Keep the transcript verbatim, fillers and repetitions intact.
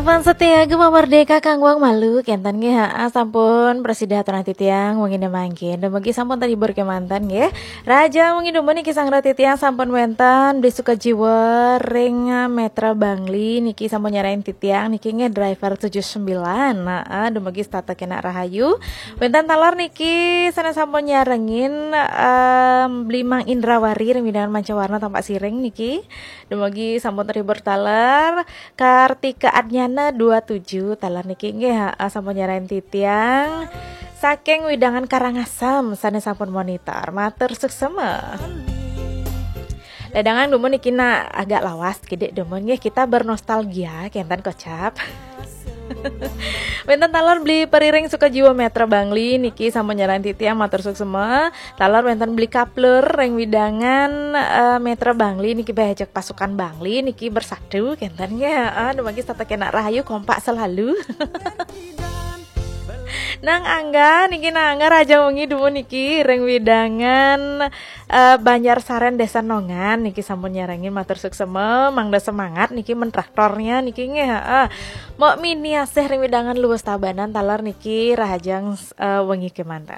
Sampun setia Gema Merdeka kang wang malu kenten nggih, ha, sampun prasida aturang titiang wengi mangkin. Dumugi sampun terhibur kemanten nggih. Raja wengi dumun niki sang titiang sampun wenten beli suka jiwa ring Metra Bangli niki sampun nyarain titiang niki nggih driver tujuh sembilan. Nah, dumugi setata kena rahayu. Wenten taler niki sana sampun nyarengin em, beli Mang Indrawari ring wewidangan Mancawarna Tampak Siring niki. Dumugi sampun terhibur taler. Kartika Adnyana dua tujuh taler niki nggih, ha, sampun nyarain titiang saking wewidangan Karangasem sane sampun monitor. Matur suksema. Dadangan dumun niki nak agak lawas kidik dumun nggih, kita bernostalgia kenten kocap. Wenten taler beli periring suka jiwa Metra Bangli niki sampun nyarain titiang matur suksema. Taler wenten beli kaplur ring wewidangan eh, Metra Bangli niki beh ajak pasukan Bangli niki bersatu kenten nggih. Heeh, dumugi setata kena rahayu kompak selalu. Nang Angga niki, Nang Angga raja wengi dumun niki ring wewidangan eh, Banjar Saren Desa Nongan niki sampun nyarengin matur suksema, mangda semangat niki men traktornya niki nggih. Heeh. Mok mini asih ring wewidangan Luwus Tabanan taler niki rahajeng eh, wengi kemanten.